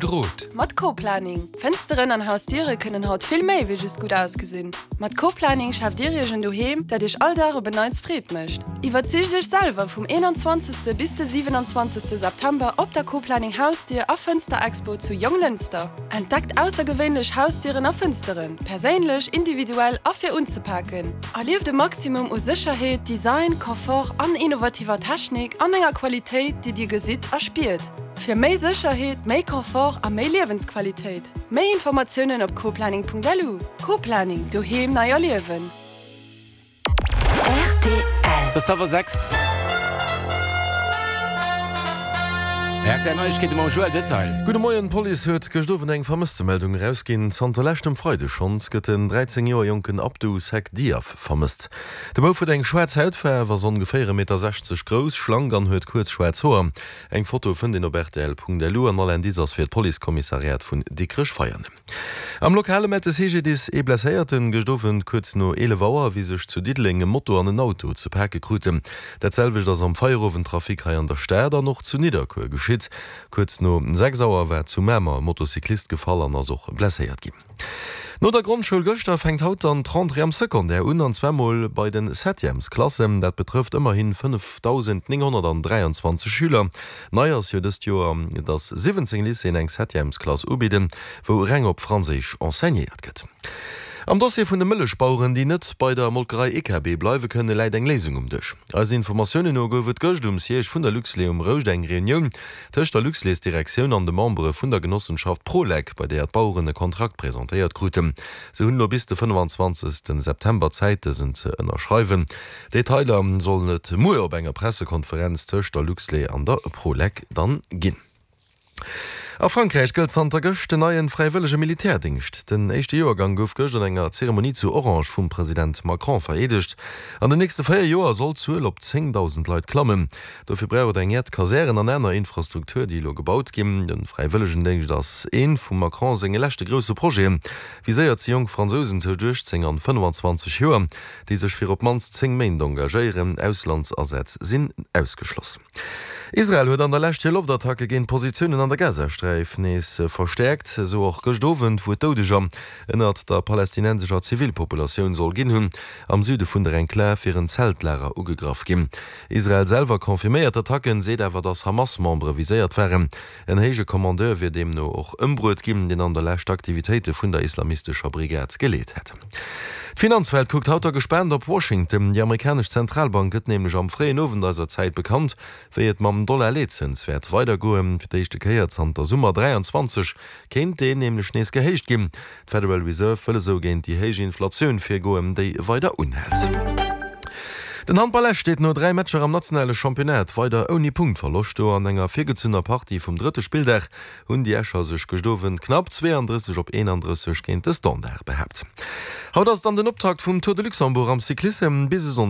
Gudde Rot. Mat Co-Planning. Fënsteren an Hausdiere kënnen haut vill méi wéi just gutt ausgesinn. Mat Co-Planning schaaft Dir Iech en Doheem, dat Iech all Dag op en Neits Freed mécht. Iwwerzeegt Iech selwer vum 21. bis de 27. September op der Co-Planning Hausdier a Fënster-Expo zu Jonglënster. Entdeckt aussergewéinlech Hausdieren a Fënsteren, perséinlech, individuell a fir unzepaken. Erlieft e Maximum u Sécherheet, Design, Confort an innovativer Technik an enger Qualitéit, déi Dir gesitt a spiert. Fir méi Sécherheet, méi Confort a méi Liewensqualitéit. Méi Informatiounen op coplanning.lu. Co-Planning, Doheem nei erliewen. Rtl. Et ass hallwer 6. Rtl Neiegkeete mam Joël Detail. Gudde Moien, D'Police huet gëscht Owend eng Vermësstemeldung erausginn. Zanter leschtem Freide schonns gëtt den 13 Joer jonken Abdou Seck Diaf vermësst. De Bouf huet eng schwaarz Hautfaarf, ass ongeféier 1,60 Meter grouss, schlank an huet kuerz schwaarz Hoer. Eng Foto fënnt een op rtl.lu an all Indice ass fir d'Policekommissariat vun Dikrech-Veianen. Am Lokale mellt de CGDIS ee Blesséierten gëscht Owend kuerz no 11 Auer, wéi sech zu Diddeleng e Moto an en Auto ze pake kruten. Dat selwecht ass am Feierowendtrafic hei an der Stad an och zu Nidderkuer geschitt. Kuerz no 6 Auer war zu Mamer e Motocyclist gefall an ass och blesséiert ginn. No der Grondschoul gëschter fänkt haut dann d'Rentrée am Secondaire un, an zwar mol bei den Septièmesklassen. Dat betrëfft ëmmerhin 5.923 Schüler. Nei ass jo dëst Joer, dass 17 Lycéeën eng Septièmesklass ubidden, wou reng op Franséisch enseignéiert gëtt. Am Dossier vun de Mëllechbaueren, déi net bei der Molkerei EKB bleiwe kënnen, läit eng Léisung um Dësch. Eisen Informatiounen no gouf et gëscht um Siège vun der Luxlait um Rouscht eng Reunioun tëscht der Luxlaitsdirektioun an de Membere vun der Genossenschaft Prolec, bei deeër d'Baueren e Kontrakt presentéiert kruten. Se hunn elo bis de 25 September Zäit, dësen ze ënnerschreiwen. Detailer sollen et muer op enger Pressekonferenz tëscht der Luxlait an der Prolec dann ginn. A Frankräich gëllt zanter gëscht den neie fräiwëllege Militärdéngscht. Den éischte Joergang gouf gëscht an enger Zeremonie zu Orange vum President Macron vereedegt. An den nächste 4 Joer soll d'Zuel op 10.000 Leit klammen. Dofir brauch et eng jett Kasären an aner Infrastruktur, déi elo gebaut ginn. De Fräiwëllegendéngscht ass ee vum Macron senge leschte grousse Projeten. Viséiert si jonk Fransousen tëscht 18 an 25 Joer. déi sech fir op d'mannst 10 Méint engagéieren. Auslandsasätz sinn ausgeschloss. Israel huet an der Lescht hir Loftattacke géint Positiounen an der Gazasträif nees verstäerkt, esou och gëscht Owend, wou et Doudeger ënnert der palästinensescher Zivilpopulatioun soll ginn hunn. Am Süde vun der Enklav wier en Zeltlager ugegraff ginn. Israel selwer confirméiert d'Attacken, seet awer, datt Hamas-Membere viséiert waren. En héije Kommandeur wier deemno och ëmbruet ginn, deen an der Lescht d'Aktivitéite vun der islamistescher Brigad geleet hätt. D'Finanzwelt kuckt haut da gespaant op Washington. Déi amerikanesch Zentralbank gëtt nämlech am fréien Owend eiser Zäit bekannt, wéi et mam Dollar-Leetzëns wäert weidergoen. Fir d'éischte Kéier zanter Summer 23 kéint deen nämlech nees gehéicht ginn. D'Federal Reserve wëll esou géint déi héich Inflatioun virgoen, déi weider unhält. Den Handball Esch steet no 3 Matcher am nationale Championnat weider ouni Punktverloscht do. An enger virgezunner Partie vum drëtte Spilldag hunn déi Escher sech gëscht Owend knapp 32 op 31 géint de Standard behaapt. Haut ass dann den Optakt vum Tour de Luxembourg am Cyclissem. Bis e Sonndeg.